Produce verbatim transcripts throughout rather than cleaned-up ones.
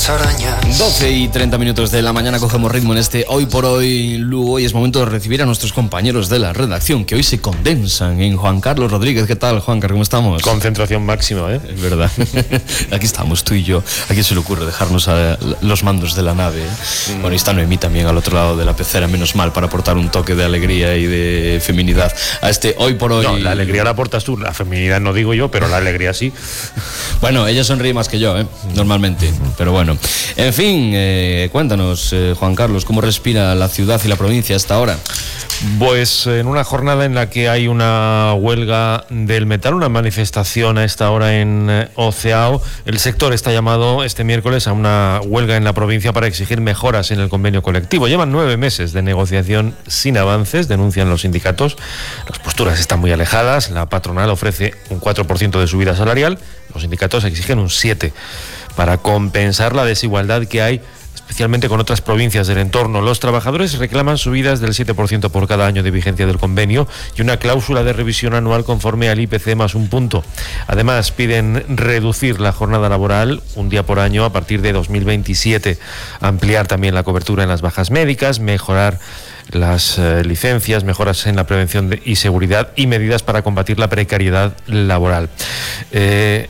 las arañas. doce y treinta minutos de la mañana cogemos ritmo en este Hoy por Hoy Lugo y es momento de recibir a nuestros compañeros de la redacción que hoy se condensan en Juan Carlos Rodríguez. ¿Qué tal, Juan Carlos? ¿Cómo estamos? Concentración máxima, ¿eh? Es verdad. Aquí estamos, tú y yo. ¿A quién se le ocurre dejarnos a los mandos de la nave? ¿eh? Mm. Bueno, y está Noemí también al otro lado de la pecera, menos mal, para aportar un toque de alegría y de feminidad a este Hoy por Hoy. No, la alegría la aportas tú, la feminidad no digo yo, pero la alegría sí. Bueno, ella sonríe más que yo, ¿eh? Normalmente, pero bueno. En fin, eh, cuéntanos, eh, Juan Carlos, ¿cómo respira la ciudad y la provincia hasta ahora? Pues en una jornada en la que hay una huelga del metal, una manifestación a esta hora en eh, Oceao, el sector está llamado este miércoles a una huelga en la provincia para exigir mejoras en el convenio colectivo. Llevan nueve meses de negociación sin avances, denuncian los sindicatos. Las posturas están muy alejadas, la patronal ofrece un cuatro por ciento de subida salarial, los sindicatos exigen un siete por ciento para compensar la desigualdad que hay especialmente con otras provincias del entorno. Los trabajadores reclaman subidas del siete por ciento por cada año de vigencia del convenio y una cláusula de revisión anual conforme al I P C más un punto. Además, piden reducir la jornada laboral un día por año a partir de dos mil veintisiete, ampliar también la cobertura en las bajas médicas, mejorar las eh, licencias, mejoras en la prevención de, y seguridad y medidas para combatir la precariedad laboral. Eh,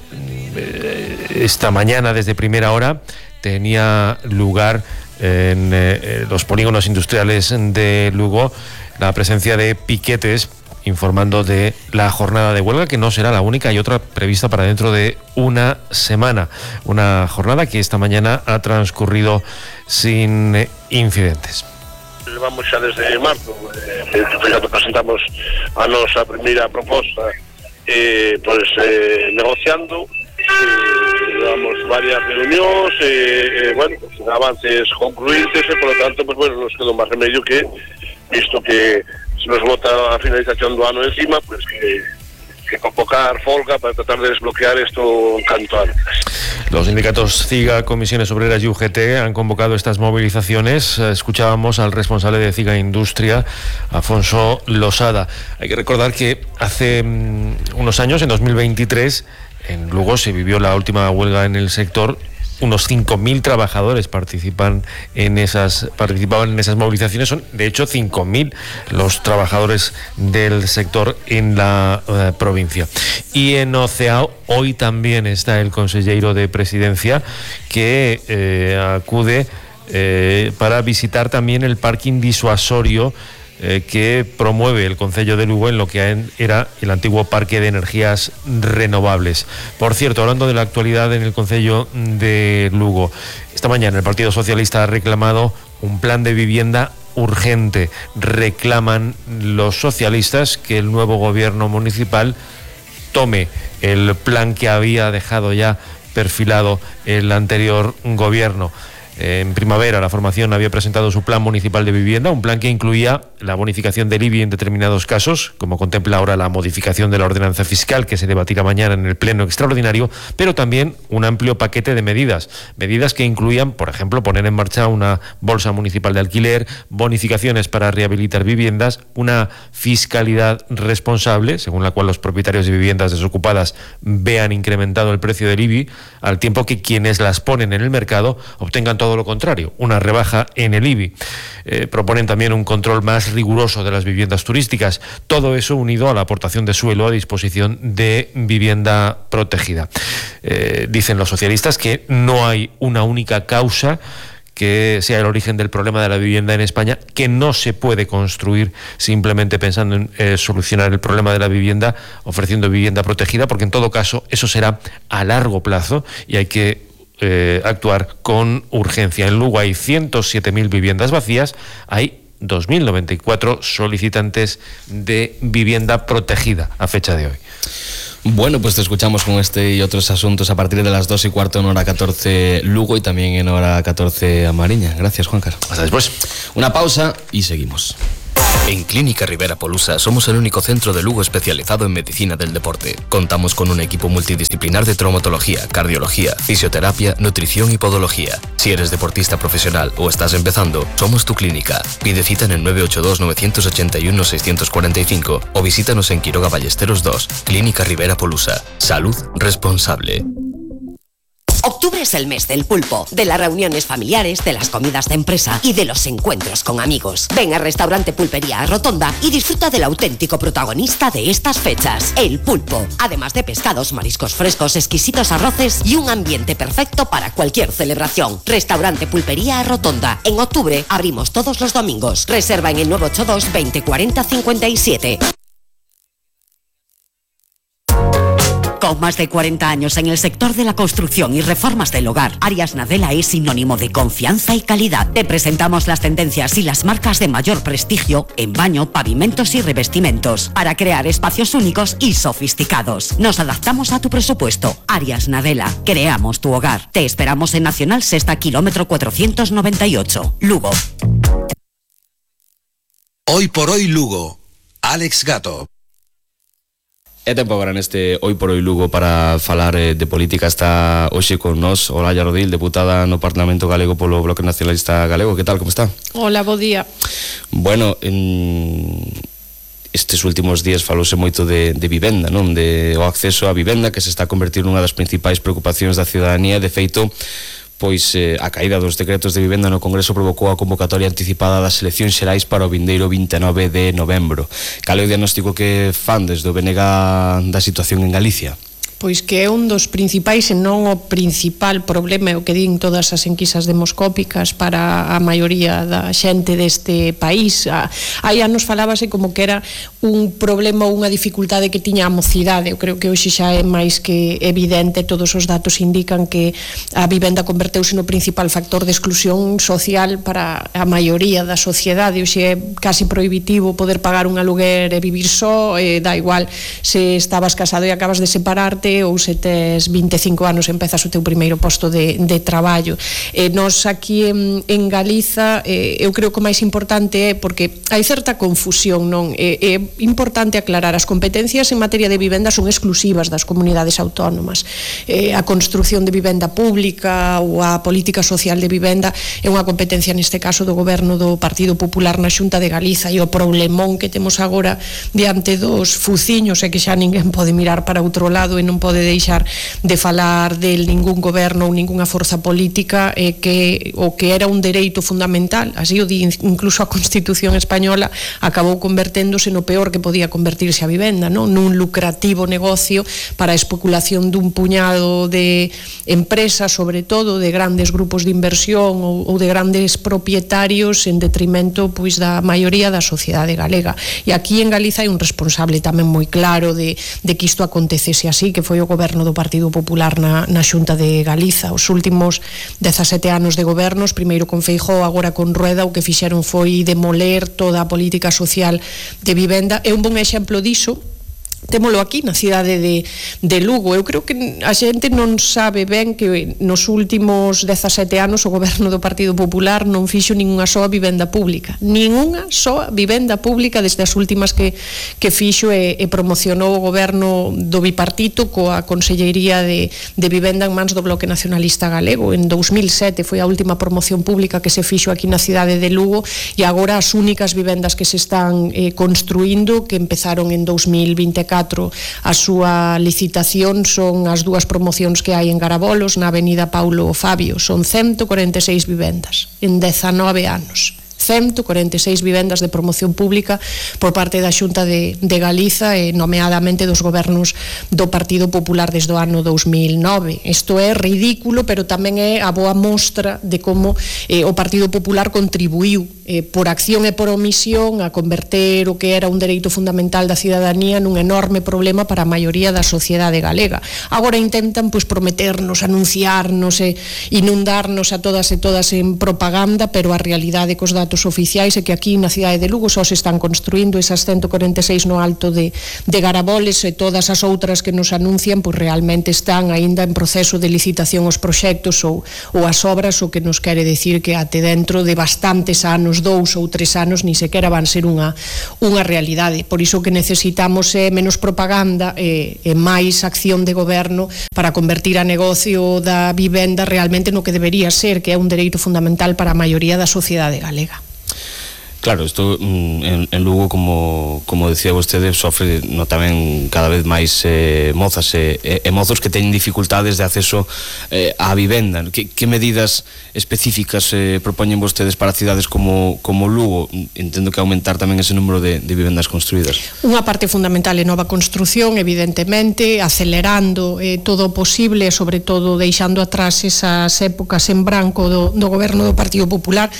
esta mañana, desde primera hora, tenía lugar en eh, los polígonos industriales de Lugo la presencia de piquetes informando de la jornada de huelga, que no será la única, hay otra prevista para dentro de una semana. Una jornada que esta mañana ha transcurrido sin eh, incidentes. Levamos xa desde marzo, eh, cando presentamos a nosa primeira proposta, eh, pues, eh, negociando, eh, damos varias reunións, eh, eh, bueno, pues, avances concluintes, e, por lo tanto, pues, bueno, nos quedou máis remedio que, visto que se nos vota a finalización do ano encima, pues que, que convocar folga para tratar de desbloquear esto canto antes. Los sindicatos CIGA, Comisiones Obreras y U G T han convocado estas movilizaciones. Escuchábamos al responsable de CIGA Industria, Afonso Losada. Hay que recordar que hace um, unos años, en dos mil veintitrés, en Lugo se vivió la última huelga en el sector. Unos cinco mil trabajadores participan en esas, participaban en esas movilizaciones. Son, de hecho, cinco mil los trabajadores del sector en la uh, provincia. Y en Oceao hoy también está el consejero de Presidencia que eh, acude eh, para visitar también el parking disuasorio Eh, que promueve el Concello de Lugo en lo que era el antiguo Parque de Energías Renovables. Por cierto, hablando de la actualidad en el Concello de Lugo, esta mañana el Partido Socialista ha reclamado un plan de vivienda urgente. Reclaman los socialistas que el nuevo gobierno municipal tome el plan que había dejado ya perfilado el anterior gobierno. En primavera, la formación había presentado su plan municipal de vivienda, un plan que incluía la bonificación del I B I en determinados casos, como contempla ahora la modificación de la ordenanza fiscal que se debatirá mañana en el pleno extraordinario, pero también un amplio paquete de medidas, medidas que incluían, por ejemplo, poner en marcha una bolsa municipal de alquiler, bonificaciones para rehabilitar viviendas, una fiscalidad responsable, según la cual los propietarios de viviendas desocupadas vean incrementado el precio del I B I, al tiempo que quienes las ponen en el mercado obtengan todo Todo lo contrario, una rebaja en el I B I. Eh, proponen también un control más riguroso de las viviendas turísticas. Todo eso unido a la aportación de suelo a disposición de vivienda protegida. Eh, dicen los socialistas que no hay una única causa que sea el origen del problema de la vivienda en España, que no se puede construir simplemente pensando en eh, solucionar el problema de la vivienda ofreciendo vivienda protegida, porque en todo caso eso será a largo plazo y hay que Eh, actuar con urgencia. En Lugo hay ciento siete mil viviendas vacías, hay dos mil noventa y cuatro solicitantes de vivienda protegida a fecha de hoy. Bueno, pues te escuchamos con este y otros asuntos a partir de las dos y cuarto en hora catorce Lugo y también en hora catorce a Mariña. Gracias, Juan Carlos. Hasta después. Una pausa y seguimos. En Clínica Rivera Polusa somos el único centro de Lugo especializado en medicina del deporte. Contamos con un equipo multidisciplinar de traumatología, cardiología, fisioterapia, nutrición y podología. Si eres deportista profesional o estás empezando, somos tu clínica. Pide cita en el nueve ocho dos, nueve ocho uno, seis cuatro cinco o visítanos en Quiroga Ballesteros dos. Clínica Rivera Polusa. Salud responsable. Octubre es el mes del pulpo, de las reuniones familiares, de las comidas de empresa y de los encuentros con amigos. Ven al restaurante Pulpería Rotonda y disfruta del auténtico protagonista de estas fechas, el pulpo. Además de pescados, mariscos frescos, exquisitos arroces y un ambiente perfecto para cualquier celebración. Restaurante Pulpería Rotonda. En octubre abrimos todos los domingos. Reserva en el nueve ocho dos veinte cuarenta cincuenta y siete. Con más de cuarenta años en el sector de la construcción y reformas del hogar, Arias Nadella es sinónimo de confianza y calidad. Te presentamos las tendencias y las marcas de mayor prestigio en baño, pavimentos y revestimentos para crear espacios únicos y sofisticados. Nos adaptamos a tu presupuesto. Arias Nadella, creamos tu hogar. Te esperamos en Nacional Sexta, kilómetro cuatrocientos noventa y ocho, Lugo. Hoy por hoy Lugo, Alex Gato. É tempo agora neste Hoy por Hoy Lugo para falar eh, de política. Está hoxe con nós Olalla Rodil, deputada no Parlamento Galego polo Bloque Nacionalista Galego. Que tal, como está? Hola, bo día. Bueno, en estes últimos días falouse moito de, de vivenda, non? De o acceso á vivenda, que se está a convertir nunha das principais preocupacións da ciudadanía. De feito, pois eh, a caída dos decretos de vivenda no Congreso provocou a convocatoria anticipada das eleccións xerais para o vindeiro vinte e nove de novembro. Cal é o diagnóstico que fan desde o B N G da situación en Galicia? Pois que é un dos principais e non o principal problema, o que din todas as enquisas demoscópicas para a maioría da xente deste país. Aí anos falábase como que era un problema ou unha dificultade que tiña a mocidade. Eu creo que hoxe xa é máis que evidente, todos os datos indican que a vivenda converteuse no principal factor de exclusión social para a maioría da sociedade. Hoxe é casi prohibitivo poder pagar un aluguer e vivir só, e dá igual se estabas casado e acabas de separarte ou se tes vinte e cinco anos empezas o teu primeiro posto de, de traballo. Eh, nos aquí en, en Galiza eh, eu creo que o máis importante é porque hai certa confusión, non? É, é importante aclarar, as competencias en materia de vivenda son exclusivas das comunidades autónomas. Eh, a construción de vivenda pública ou a política social de vivenda é unha competencia neste caso do goberno do Partido Popular na Xunta de Galiza, e o problemón que temos agora diante dos fuciños é que xa ninguén pode mirar para outro lado e non pode deixar de falar del ningún goberno ou ningunha forza política, eh, que o que era un dereito fundamental, así o di incluso a Constitución española, acabou converténdose no peor que podía convertirse a vivenda, non? Nun lucrativo negocio para a especulación dun puñado de empresas, sobre todo de grandes grupos de inversión ou, ou de grandes propietarios, en detrimento pois da maioría da sociedade galega. E aquí en Galiza hai un responsable tamén moi claro de, de que isto acontecese así, que foi o goberno do Partido Popular na, na Xunta de Galiza. Os últimos dezasete anos de gobernos, primeiro con Feijóo, agora con Rueda, o que fixeron foi demoler toda a política social de vivenda. É un bon exemplo diso. Témolo aquí na cidade de, de Lugo. Eu creo que a xente non sabe ben que nos últimos dezasete anos o goberno do Partido Popular non fixo ninguna soa vivenda pública, ninguna soa vivenda pública desde as últimas que, que fixo e, e promocionou o goberno do bipartito coa Consellería de, de Vivenda en mans do Bloque Nacionalista Galego. En dous mil sete foi a última promoción pública que se fixo aquí na cidade de Lugo, e agora as únicas vivendas que se están eh, construindo, que empezaron en dous mil vinte e catro a súa licitación, son as dúas promocións que hai en Garabolos, na avenida Paulo Fabio. Son ciento cuarenta e seis vivendas en dezanove anos. ciento cuarenta e seis vivendas de promoción pública por parte da Xunta de, de Galiza, e nomeadamente dos gobernos do Partido Popular desde o ano dous mil nove. Isto é ridículo, pero tamén é a boa mostra de como eh, o Partido Popular contribuiu eh, por acción e por omisión a converter o que era un dereito fundamental da cidadanía nun enorme problema para a maioría da sociedade galega. Agora intentan pois prometernos, anunciarnos e inundarnos a todas e todas en propaganda, pero a realidade cos datos oficiais é que aquí na cidade de Lugo só se están construindo esas ciento cuarenta e seis no alto de, de Garaboles, e todas as outras que nos anuncian pois realmente están aínda en proceso de licitación os proxectos ou, ou as obras, o que nos quere decir que até dentro de bastantes anos, dous ou tres anos, ni sequera van ser unha, unha realidade. Por iso que necesitamos é menos propaganda e, e máis acción de goberno para convertir a negocio da vivenda realmente no que debería ser, que é un dereito fundamental para a maioría da sociedade galega. Claro, isto en, en Lugo, como, como decía vostede, sofre no tamén cada vez máis eh, mozas e, e, e mozos que teñen dificultades de acceso eh, á vivenda. Que, que medidas específicas eh, propoñen vostedes para cidades como, como Lugo? Entendo que aumentar tamén ese número de, de vivendas construídas. Unha parte fundamental é nova construción, evidentemente, acelerando eh, todo o posible, sobre todo deixando atrás esas épocas en branco do, do goberno do Partido Popular,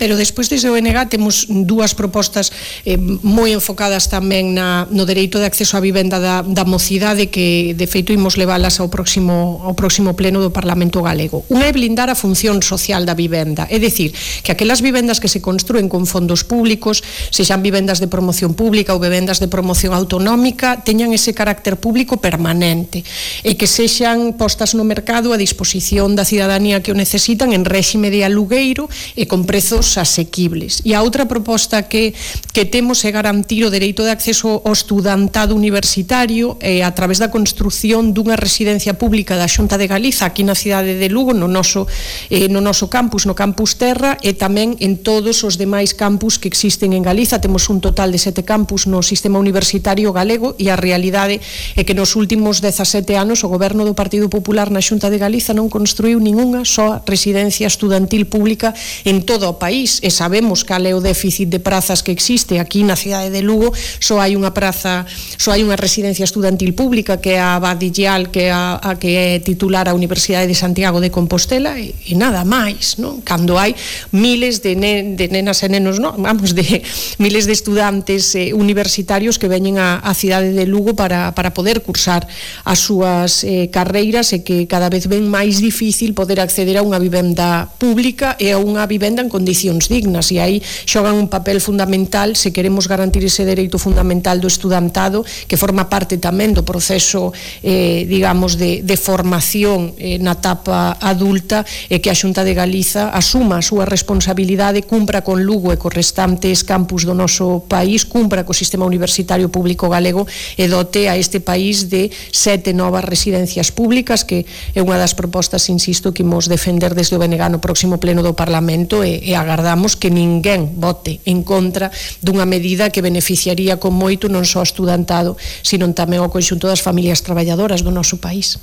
pero despois dese O N G temos dúas propostas eh, moi enfocadas tamén na, no dereito de acceso á vivenda da, da mocidade, que de feito imos leválas ao próximo, ao próximo pleno do Parlamento Galego. Unha é blindar a función social da vivenda, é dicir, que aquelas vivendas que se construen con fondos públicos, sexan vivendas de promoción pública ou vivendas de promoción autonómica, teñan ese carácter público permanente e que sexan postas no mercado a disposición da cidadanía que o necesitan en réxime de alugueiro e con prezos asequibles. E a outra Outra proposta que, que temos é garantir o dereito de acceso ao estudantado universitario eh, a través da construción dunha residencia pública da Xunta de Galiza aquí na cidade de Lugo, no noso, eh, no noso campus, no campus Terra, e tamén en todos os demais campus que existen en Galiza. Temos un total de sete campus no sistema universitario galego e a realidade é que nos últimos dezasete anos o goberno do Partido Popular na Xunta de Galiza non construiu ningunha só residencia estudantil pública en todo o país, e sabemos cal é o déficit de prazas que existe aquí na cidade de Lugo. Só hai unha praza, só hai unha residencia estudantil pública que é a Badillal, que é a, a que é titular a Universidade de Santiago de Compostela, e, e nada máis, non? Cando hai miles de, ne, de nenas e nenos, non? Vamos, de miles de estudantes eh, universitarios que veñen a, a cidade de Lugo para, para poder cursar as súas eh, carreiras, e que cada vez ven máis difícil poder acceder a unha vivenda pública e a unha vivenda en condicións dignas, e aí xogan un papel fundamental se queremos garantir ese dereito fundamental do estudantado, que forma parte tamén do proceso eh, digamos de, de formación eh, na etapa adulta, e que a Xunta de Galiza asuma a súa responsabilidade, cumpra con Lugo e cos restantes campus do noso país, cumpra co sistema universitario público galego e dote a este país de sete novas residencias públicas, que é unha das propostas, insisto, que imos defender desde o B N G no próximo pleno do Parlamento, e, e agardamos que ninguén vote en contra dunha medida que beneficiaría con moito non só ao estudantado, sino tamén ao conxunto das familias traballadoras do noso país.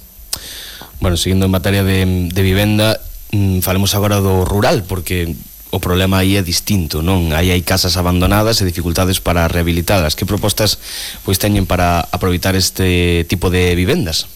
Bueno, seguindo en materia de, de vivenda, mmm, falemos agora do rural, porque o problema aí é distinto, non? Aí hai casas abandonadas e dificultades para rehabilitalas. Que propostas pois teñen para aproveitar este tipo de vivendas?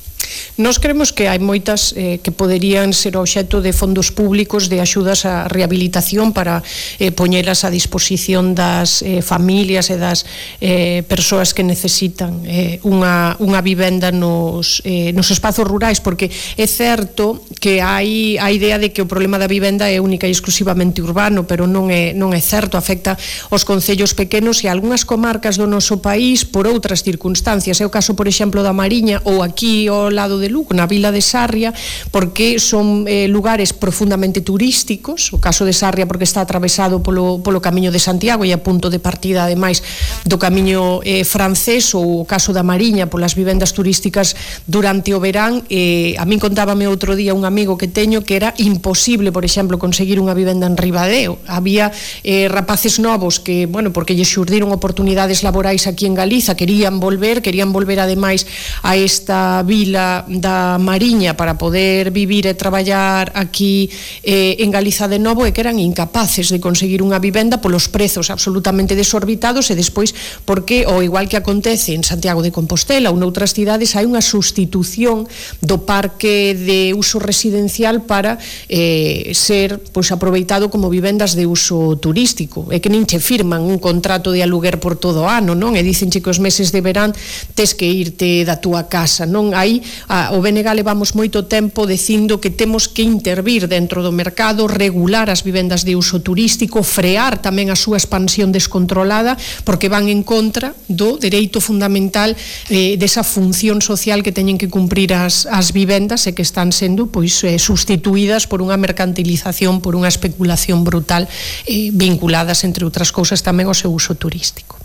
Nos creemos que hai moitas eh, que poderían ser obxecto de fondos públicos de axudas á rehabilitación para eh, poñelas a disposición das eh, familias e das eh, persoas que necesitan eh, unha, unha vivenda nos, eh, nos espazos rurais, porque é certo que hai a idea de que o problema da vivenda é única e exclusivamente urbano, pero non é, non é certo, afecta os concellos pequenos e algunhas comarcas do noso país por outras circunstancias. É o caso, por exemplo, da Mariña, ou aquí ao lado de Lugo, na vila de Sarria, porque son eh, lugares profundamente turísticos. O caso de Sarria porque está atravesado polo, polo camiño de Santiago e a punto de partida, ademais, do camiño eh, francés, ou o caso da Mariña polas vivendas turísticas durante o verán. Eh, a min contábame outro día un amigo que teño que era imposible, por exemplo, conseguir unha vivenda en Ribadeo. Había eh, rapaces novos que, bueno, porque lle xurdiron oportunidades laborais aquí en Galiza, querían volver, querían volver ademais a esta vila da Mariña para poder vivir e traballar aquí eh, en Galiza de novo, e que eran incapaces de conseguir unha vivenda polos prezos absolutamente desorbitados, e despois porque, ao igual que acontece en Santiago de Compostela ou noutras cidades, hai unha sustitución do parque de uso residencial para eh, ser pois, aproveitado como vivendas de uso turístico, e que nin che firman un contrato de aluguer por todo o ano, non? E dicenche que os meses de verán tes que irte da túa casa, non? Aí a, o B N G levamos moito tempo dicindo que temos que intervir dentro do mercado, regular as vivendas de uso turístico, frear tamén a súa expansión descontrolada, porque van en contra do dereito fundamental eh, desa función social que teñen que cumprir as, as vivendas, e que están sendo pois eh, sustituídas por unha mercantilización, por unha especulación brutal, eh, vinculadas, entre outras cousas, tamén ao seu uso turístico.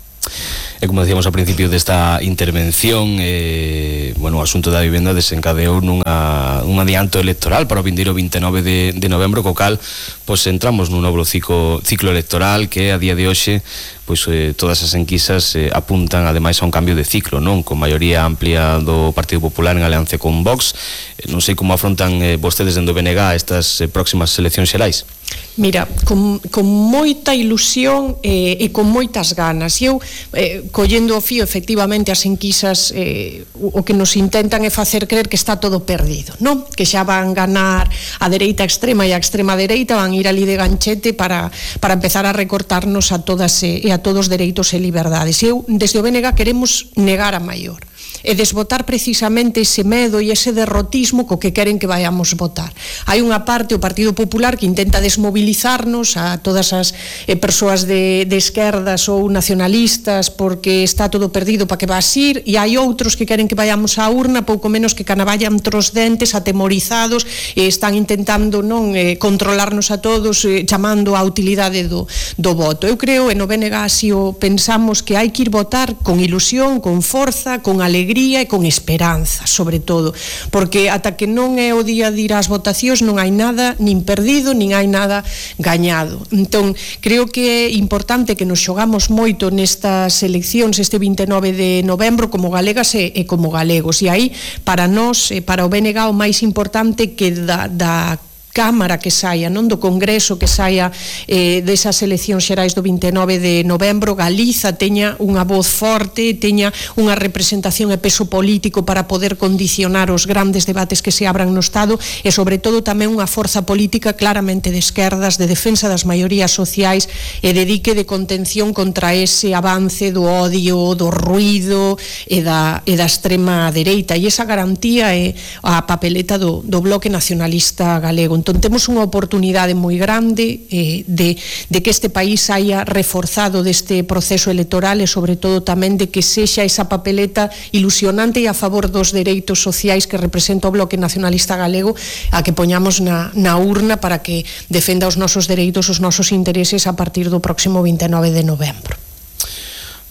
E como decíamos ao principio desta intervención, eh, bueno, o asunto da vivenda desencadeou nunha, un adianto electoral para o vindeiro vinte e nove de, de novembro, co cal pois entramos nun novo ciclo, ciclo electoral que a día de hoxe pois eh, todas as enquisas eh, apuntan ademais a un cambio de ciclo, non? Con maioría amplia do Partido Popular en alianza con Vox. Eh, non sei como afrontan eh, vostedes dende o B N G estas eh, próximas eleccións xerais. Mira, con, con moita ilusión eh, e con moitas ganas. E eu, eh, collendo o fío, efectivamente, as enquisas eh, o que nos intentan é facer creer que está todo perdido, non? Que xa van ganar a dereita extrema e a extrema dereita, van ir ali de ganchete para, para empezar a recortarnos a todas e, e a todos dereitos e liberdades. E eu, desde o B N G, queremos negar a maior e desbotar precisamente ese medo e ese derrotismo co que queren que vayamos votar. Hai unha parte, o Partido Popular, que intenta desmobilizarnos a todas as eh, persoas de, de esquerdas ou nacionalistas porque está todo perdido para que vas ir, e hai outros que queren que vayamos á urna pouco menos que canavallan tros dentes, atemorizados, e están intentando non eh, controlarnos a todos, eh, chamando a utilidade do, do voto. Eu creo, e no B N G así o pensamos, que hai que ir votar con ilusión, con forza, con alegría e con esperanza, sobre todo, porque ata que non é o día de ir ás votacións non hai nada nin perdido, nin hai nada gañado. Entón, creo que é importante que nos xogamos moito nestas eleccións este vinte e nove de novembro como galegas e, e como galegos, e aí, para nós, para o B N G, o máis importante que da, da Cámara que saia, non do Congreso que saia eh, desas eleccións xerais do vinte e nove de novembro, Galiza teña unha voz forte, teña unha representación e peso político para poder condicionar os grandes debates que se abran no Estado, e sobre todo tamén unha forza política claramente de esquerdas, de defensa das maiorías sociais e de dique de contención contra ese avance do odio, do ruido e da, e da extrema dereita, e esa garantía é a papeleta do, do Bloque Nacionalista Galego. Entón, temos unha oportunidade moi grande eh, de, de que este país haya reforzado deste proceso electoral e sobre todo tamén de que sexa esa papeleta ilusionante e a favor dos dereitos sociais que representa o Bloque Nacionalista Galego, a que poñamos na, na urna para que defenda os nosos dereitos, os nosos intereses a partir do próximo vinte e nove de novembro.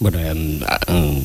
Bueno, um, um...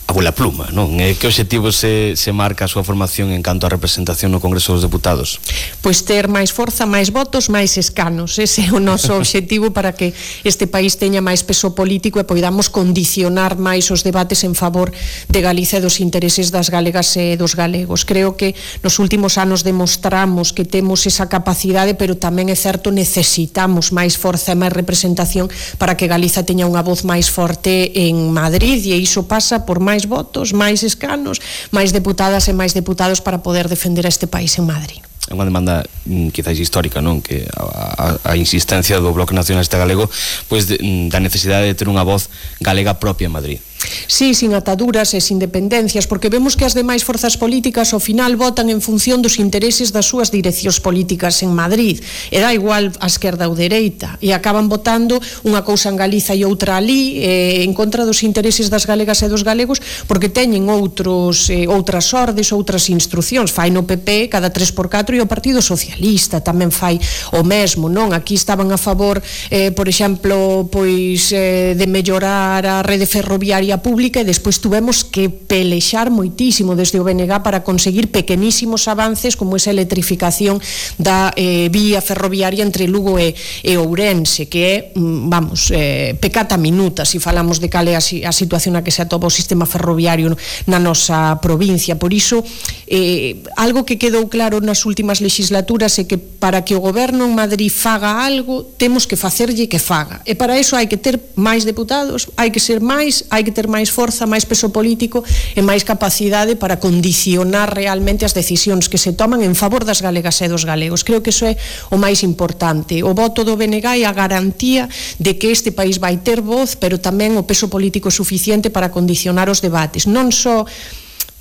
a bola pluma, non? E que obxectivo se, se marca a súa formación en canto a representación no Congreso dos Deputados? Pois ter máis forza, máis votos, máis escanos. Ese é o noso obxectivo para que este país teña máis peso político e poidamos condicionar máis os debates en favor de Galicia e dos intereses das galegas e dos galegos. Creo que nos últimos anos demostramos que temos esa capacidade, pero tamén é certo, necesitamos máis forza e máis representación para que Galiza teña unha voz máis forte en Madrid, e iso pasa por máis máis votos, máis escanos, máis deputadas e máis deputados para poder defender a este país en Madrid. É unha demanda quizás histórica, non? Que a, a, a insistencia do Bloque Nacionalista Galego pois de, da necesidade de ter unha voz galega propia en Madrid. Sí, sin ataduras e sin dependencias, porque vemos que as demais forzas políticas ao final votan en función dos intereses das súas direccións políticas en Madrid, e dá igual a esquerda ou dereita, e acaban votando unha cousa en Galiza e outra ali, eh, en contra dos intereses das galegas e dos galegos, porque teñen outros eh, outras ordes, outras instruccións. Fai no P P cada tres por catro, e o Partido Socialista tamén fai o mesmo, non? Aquí estaban a favor, eh, por exemplo, pois eh, de mellorar a rede ferroviaria pública, e despois tuvemos que pelexar moitísimo desde o B N G para conseguir pequenísimos avances como esa electrificación da eh, vía ferroviaria entre Lugo e, e Ourense, que é, vamos, eh, pecata minuta se si falamos de cal é a, a situación na que se atopa o sistema ferroviario na nosa provincia. Por iso, eh, algo que quedou claro nas últimas legislaturas é que para que o goberno en Madrid faga algo, temos que facerlle que faga, e para iso hai que ter máis deputados, hai que ser máis, hai que ter máis forza, máis peso político e máis capacidade para condicionar realmente as decisións que se toman en favor das galegas e dos galegos. Creo que iso é o máis importante. O voto do B N G é a garantía de que este país vai ter voz, pero tamén o peso político suficiente para condicionar os debates, non só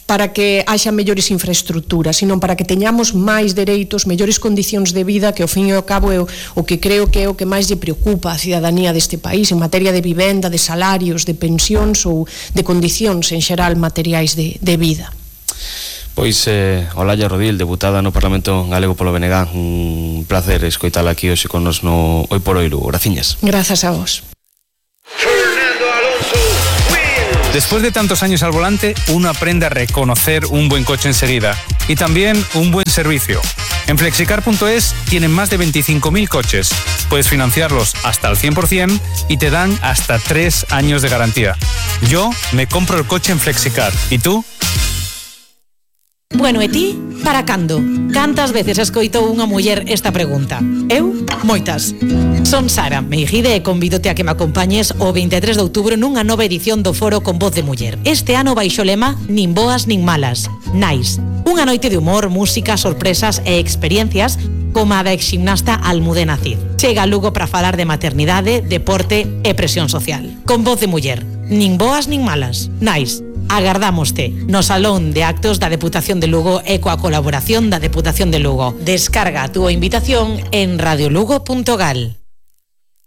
para que haxa mellores infraestructuras, sino para que teñamos máis dereitos, mellores condicións de vida, que ao fin e ao cabo é o, o que creo que é o que máis lle preocupa a cidadanía deste país en materia de vivenda, de salarios, de pensións ou de condicións en xeral materiais de, de vida. Pois, eh, Olalla Rodil, deputada no Parlamento Galego polo B N G, un placer escoitala aquí hoxe con nos no Hoy por Hoy Lugo. Graciñas. Grazas a vos. Fernando Alonso wins. Después de tantos años al volante, uno aprende a reconocer un buen coche enseguida y también un buen servicio. En flexicar punto es tienen más de veinticinco mil coches. Puedes financiarlos hasta el cien por ciento y te dan hasta tres años de garantía. Yo me compro el coche en Flexicar. ¿Y tú? Bueno, e ti, para cando? Cantas veces escoitou unha muller esta pregunta? Eu, moitas. Son Sara Meijide e convídote a que me acompañes o veintitrés de outubro nunha nova edición do Foro con Voz de Muller. Este ano baixo o lema Nin boas nin malas. Nice. Unha noite de humor, música, sorpresas e experiencias como a da exgimnasta Almudena Cid. Chega a Lugo para falar de maternidade, deporte e presión social. Con Voz de Muller. Nin boas nin malas. Nice. Agardámoste no Salón de Actos da Deputación de Lugo e coa colaboración da Deputación de Lugo. Descarga a túa invitación en radiolugo punto gal.